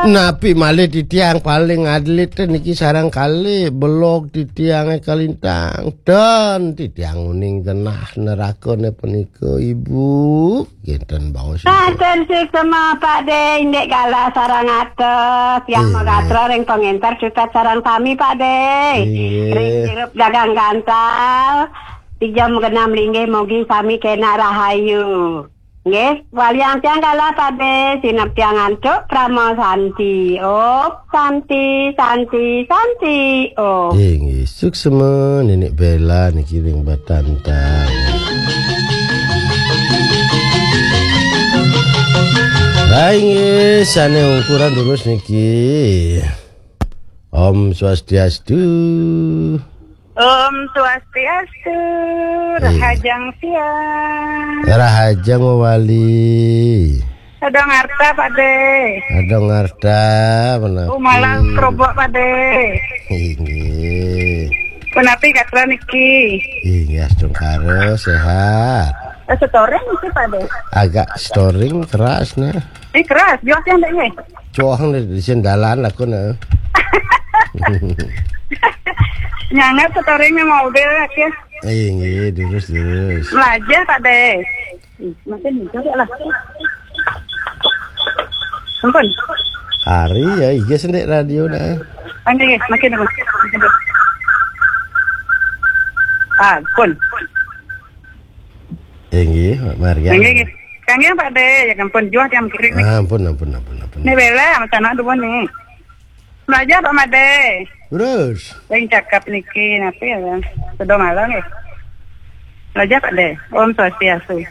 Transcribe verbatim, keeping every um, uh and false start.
Napi malih titiang paling adlit niki sareng kalih belog titiange kalintang. Dan titiang uning genah nerakane punika, Ibu. Kinten baos, Ibu. Matur suksma, Pak De, indik galah sareng atos. Tiang Inggih. Magatra ring pangenter cutet sareng sami, Pak De. Inggih. Ring sirup dagang gantal. Tijam genam linggih, mugi sami kenak rahayu. Nggih, waliang tiang galah, Pak De, sinep tiang antuk, prama santi. Om santi, santi, santi. Om. Inggih, suksma Nenek Bela niki ring Batantang. Lah inggih, sane ungkuran durus niki. Om Swastiastu. Om Swastiastu. Iya. Rahajeng siang. Rahajeng wali. Ada ngarta, Pak De. Ada ngarta, menapi? Umalang kerobok, Pak De. Inggih. Menapi gatra niki? Inggih, astungkara, sehat. Eh, setoring sih, Pak De. Agak setoring keras, nah. Eh, keras, jauh sih, Pak De. Cuang di, di sendalan aku, nah. Nyangat setoring nih mobil, ya. Inggih, durus, durus. Melajah, Pak De. Ih, makin muncul ya lah. Ampun. Hari ya, iya sendek radio dah. Ini, makin apa? Ampun. Inggih, Mak Marian. Inggih, inggih. Kang, ya, Pak De, ya ampun, juah tiang kirik nih. Ah, ampun, ampun, ampun, ampun. Ini bela, sama sana dua nih. Belajar, Pak Made. Terus? Yang cakap niki, napi ya, Bang? Sudah malam ya? Belajar, Pak De. Om Swastiastu.